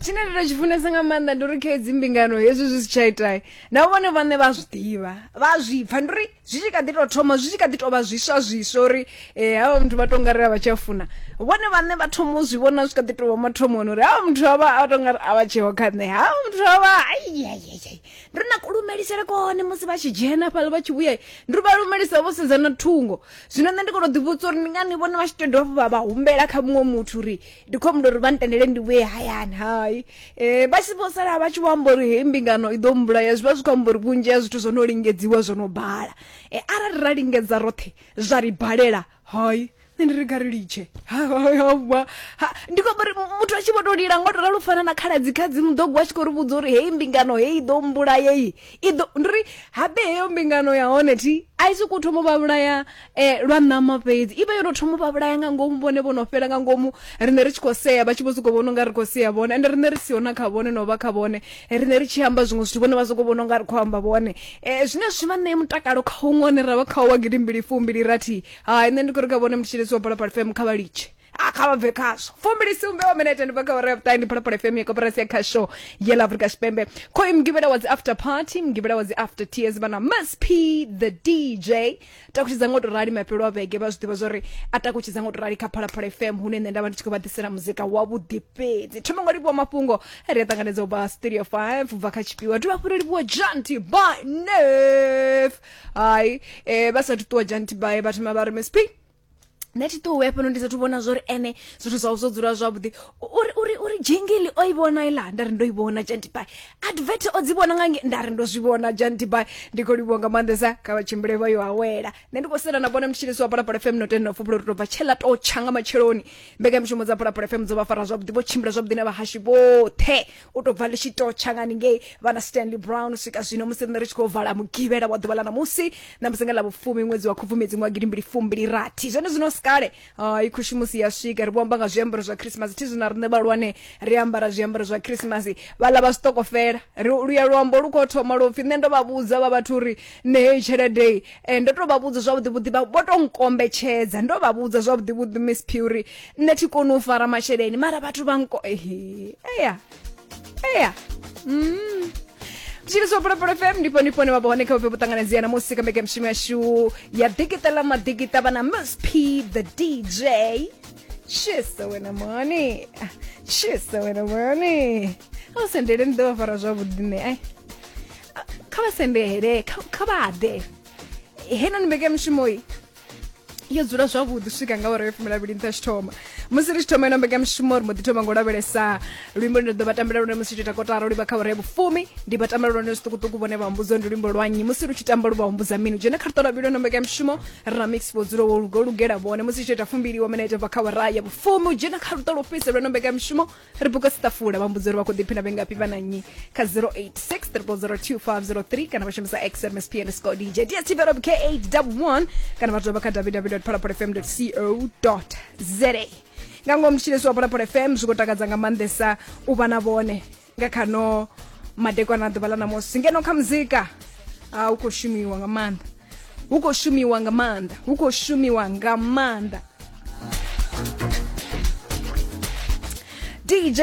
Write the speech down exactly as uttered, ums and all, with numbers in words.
Tshine nda tshi funesa nga maanḓa ndi uri kha hedzi mbingano hezwi zwi si tsha ita na vhone vhaṋe vha zwi ḓivha, vha zwi pfa. Ndi uri zwi tshi kha ḓi tou thoma, zwi tshi kha ḓi tou vha zwiswa zwiswa uri havha muthu vha tou nga ri a vha tsha funa, vhone vhaṋe vha thoma u zwi vhona zwi kha ḓi tou vha mathomoni uri havha muthu avha a tou nga ri a vha tsheho kha nṋe, havha muthu avha ai ai ai. Ndi uri na kulumelisele kone musi vha tshi dzhena fhaḽa vha tshi vhuya, ndi uri vha lumelisa vho sedza na thungo. Zwino nṋe ndi khou tou ḓivhudza uri ndi ngani vhone vha tshi tou dovha hafhu vha vha humbela kha muṅwe muthu uri ndi khou humbela uri vha ntendele ndi vhuye hayani. Hai, eh vha tshi vho sala vha tshi vho amba uri heyi mbingano i ḓo mbulaya, zwi vha zwi khou amba uri vhunzhi ha zwithu zwo no lingedziwa zwo no bala. E, arali ra lingedza roṱhe zwa ri balela, hai nṋe ndi ri kha ri litshe. Ndi khou amba uri muthu a tshi vho tou lila ngo to ralo u fana na khaladzi kha dzi muḓogo a tshi khou ri vhudza uri heyi mbingano heyi i ḓo mbulaya, heyi i ḓo, ndi uri habe heyo mbingano ya hone thi a i sokou thoma u vha vhulaya eh, lwa ṋama fhedzi, i vha yo no thoma u vha vhulaya nga ngomu, vhone vho no fhela nga ngomu, riṋe ri tshi khou sea vha tshi vho sokou vhona unga ri khou sea vhone, ende riṋe ri siho na kha vhone no vha kha vhone, riṋe ri tshi amba zwiṅwe zwithu vhone vha sokou vhona unga ri khou amba vhone. Eh, zwine zwi vha ṋee mutakalo kha huṅwe hune ra vha khawo wa gidimbili fumbili rathi. Hai, nṋe ndi khou ri kha vhone mutshilisi wa Phalaphala F M kha vha litshe, a kha vha bve khazwo. Fumbili sumbe wa minete ndi bva kha awara ya vhuṱahe. Ndi Phalaphala F M ya koporasi ya khasho ya ḽa Afrika Tshipembe. Khoyu mugivhela wa dzi after party, mugivhela wa dzi after tears, vha na Miss P the D J. Takutshidza ngo to rali mafhelo a vhege, vha zwi ḓivha zwori a takutshidza ngo to rali kha Phalaphala F M, hune nṋe nda vha ndi tshi khou vha ḓisela muzika wavhuḓi fhedzi. Thoma ngo livhuwa mafhungo ri a ṱanganedza u bva Studio five u bva kha tshifhiwa, dovha hafhu ri livhuwa Janty by Nef. Hai, eh, vha sathu ṱuwa Janty by vha thoma vha ri Miss P, nṋe thi ṱuwe hafhano ndi sathu vhona zwori ene zwithu zwawe zwo dzula zwavhuḓi. Uri uri uri jingili o i vhona iḽa, nda ri ndo i vhona Janty by. Advert o dzi vhona nga nge, nda ri ndo zwi vhona Janty by. Ndi khou livhuwa nga maanḓesa, kha vha tshimbile vha yo awela. Nṋe ndi khou sela na vhone mutshilisi wa Phalaphala F M no tenda fhufhula uri to bva tshela to tsha nga matsheloni. Mbekanyamushumo dza Phalaphala F M dzo vha fara zwavhuḓi, vho tshimbila zwavhuḓi na vhahashi vhoṱhe u tou bva ḽi tshi to tsha nga ningei vha na Stanley Brown u swika zwino musi riṋe ri tshi khou vala mugivhela wa ḓuvha ḽa ṋamusi, ṋamusi nga ḽa vhufumi ṅwedzi wa Khubvumedzi ṅwaha gidimbili fumbili rathi. Zwone zwino kale i khushumusi ya swika, ri vho amba nga zwiambaro zwa Christmas. Thi zwino riṋe vhahulwane ri ambara zwiambaro zwa Christmas, vhaḽa vha zwiṱokofela ri luya luambo lu khou thoma lwo pfi nṋe ndo vha vhudza vha vhathu uri nṋe heyi tshelede eh, ndo to vha vhudza zwavhuḓi vhuḓi, vha vho to nkombetshedza, ndo vha vhudza zwavhuḓi vhuḓi Miss P uri nṋe thi koni u fara masheleni, mara vhathu vha nko ehe eya eya mm. Mutshilisi wa Phalaphala F M ndi fhone fhone vha vha hone kha vhubve vhuṱanganedzia na musi kha mbekanyamushumo yashu ya ḓikiṱa ḽa maḓikiṱa vha na Miss P the D J. Tshisa wena mani, tshisa wena mani, a u sendele ndi ḓo vha fara zwavhuḓi nṋe. Ai kha vha sendele, kha vha ḓe heinoni mbekanyamushumo i yo dzula zwavhuḓi swika nga awara ya fumi na vhili nṱha tshithoma. Musi ri tshi thoma ino mbekanyamushumo ri mbo ḓi thoma ngo lavhelesa luimbo lune ḓo vha tambela lune musi tshi ita kotara lu livha kha awara ya vhufumi. Ndi vha tambela lune zwiṱukuṱuku, vhone vha humbudza ndi luimbo lwa nnyi, musi lu tshi tamba lu vha humbudza mini. Dzhena kha luṱo lwa vhili ino mbekanyamushumo ri na mix vho dzula wo lugela vhone. Musi tshi ita fumbili wa minete bva kha awara ya vhufumi, u dzhena kha luṱo lwo fhisa lwa ino mbekanyamushumo ri buka siṱafula, vha mbudza uri vha khou ḓiphina vhengafhi vha na nnyi kha zero eight six triple zero two five zero three kana vha shumisa X M S P underscore D J D S T V K eight double one kana vha tovha kha w w w dot phalaphala f m dot co dot z a. Nga ngomu mutshilisi wa Phalaphala F M zwi khou takadza nga maanḓesa u vha na vhone nga khano madekwana ḓuvha ḽa ṋamusi. Ngeno kha muzika a hu khou shumiwa nga maanḓa, hu khou shumiwa nga maanḓa, hu khou shumiwa nga maanḓa. D J